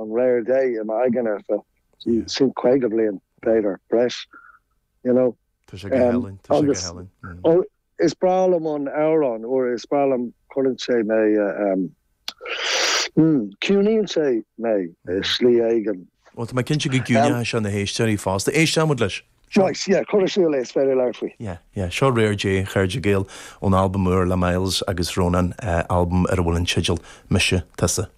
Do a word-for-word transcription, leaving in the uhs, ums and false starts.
an Réir Dé i m'aigne ar feadh sin caoga bliain b'fhéidir breis you know. Tá sé go hálainn, tá sé go hálainn. Mm. Is breá liom an amhrán or is breá liom cuireann sé mé um, mm, ciúnaíonn sé mé i slí éigin. Well tá mé cinnte go gciúnóidh sé na héisteoirí fosta. Éistfimid leis. Right, yeah, cuir siúl é is féidir leat faoi. Yeah, yeah, seo Réir Dé chairde Gael ón albam úr le Myles agus Rónán uh, albam ar a bhfuil an teideal Mise Tusa.